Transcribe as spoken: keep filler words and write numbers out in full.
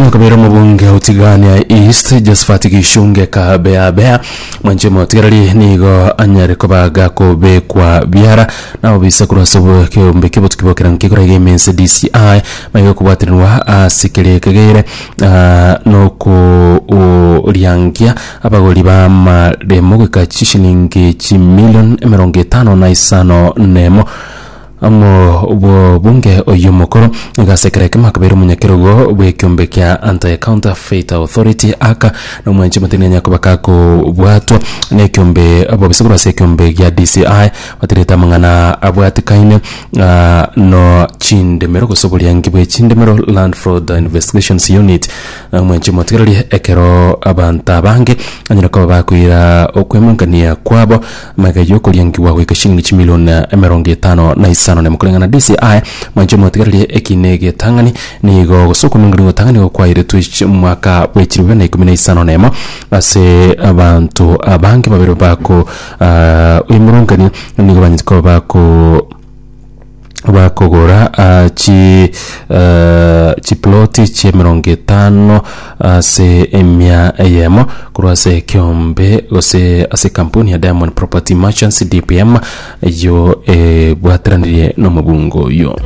Nkobera omobunge otigania East Josephat Gishunge Kabeabea mwanche motigareri nigo anyare kobaga kobekwa biara nabo bisa korwa ase ekeombe kebotuki bokera nkekora iga emense D C I maiga kobwatanirwa ase kere ekegere nokoriangia abagori ba amaremo goika chishilingi chimilion emerongo etano na isano nemo. Omobunge oyo omokoro nigo ase ekero ekemo akabeire omonyakerogo bw'ekeombe kia Anti Counterfeit Authority aka na omwanchi omoteni anya koba kakobwatwa na ekeombe obobisa korwa ase ekeombe gia D C I baterete amang'ana abwatekaine no chindemero gose oboriangi bwe chindemero, Land Fraud Investigations Unit. Omwanchi omotigareri ekero abanto abange anyare koba bakoira okwemungania kwabo magega yokoriangiwa goika shilingi chimilion emerongo etano na isano nemo koreng'ana D C I. Mwanchi omotigareri ekine getang'ani nigo gose okwemungania gotang'ani gokwairetwe omwaka bwa chiribu bibere na ikomi na isano nemo ase abanto abange babere bako oimurungania nigo banyete koba bako bakogora chi chiploti chia emerongo etano ase emia eyemo korwa ase ekeombe gose ase ekampuni ya Diamond Property Merchants D P M eywo ebwateranirie na omobungo oyo.